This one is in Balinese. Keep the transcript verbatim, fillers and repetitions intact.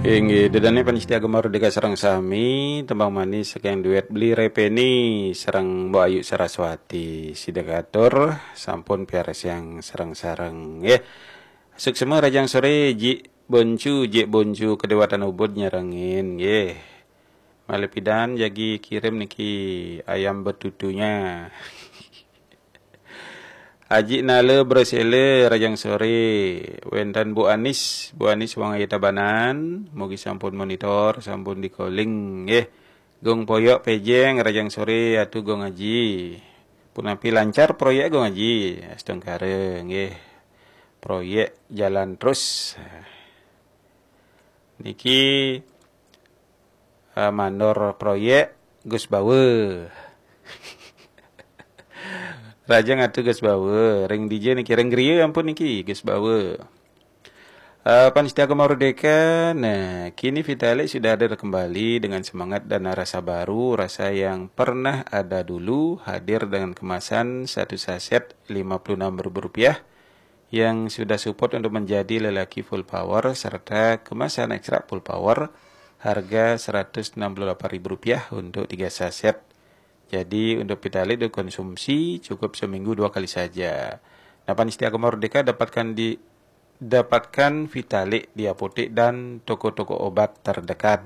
Inggih, ida dané pamiarsa Gema Merdeka sareng sami, tembang manis saking duet Bli Répeni sareng Mbok Ayu Saraswati. Sida katur sampun piarsa sareng-sareng nggih. Suksma rahajeng soré Jik Boncu, Jik Boncu Kedewatan Ubud nyarengin nggih. Malih pidan jagi kirim niki ayam betutunya. Aji Nala Bresele rahajeng soré, wénten Bu Anis, Bu Anis Wangaya Tabanan, mugi sampun monitor, sampun di-calling nggih. Gung Poyok Pejeng rahajeng soré, atu Gung Aji. Punapi lancar proyék Gung Aji, astungkara nggih. Proyék jalan terus. Niki eh, mandor proyék Gus Bawe. Rahajeng atu Gus Bawe, ring dija niki, ring griya ampun niki Gus Bawe. Eh, pamiarsa Gema Merdeka, nah, kini Vitalik sudah hadir kembali dengan semangat dan rasa baru, rasa yang pernah ada dulu, hadir dengan kemasan satu saset lima puluh enam ribu rupiah yang sudah support untuk menjadi lelaki full power serta kemasan ekstra full power harga seratus enam puluh delapan ribu rupiah untuk tiga saset. Jadi untuk Vitalik dikonsumsi cukup seminggu dua kali saja. Nah, pamiarsa Gema Merdeka, dapatkan di dapatkan Vitalik di apotek dan toko-toko obat terdekat.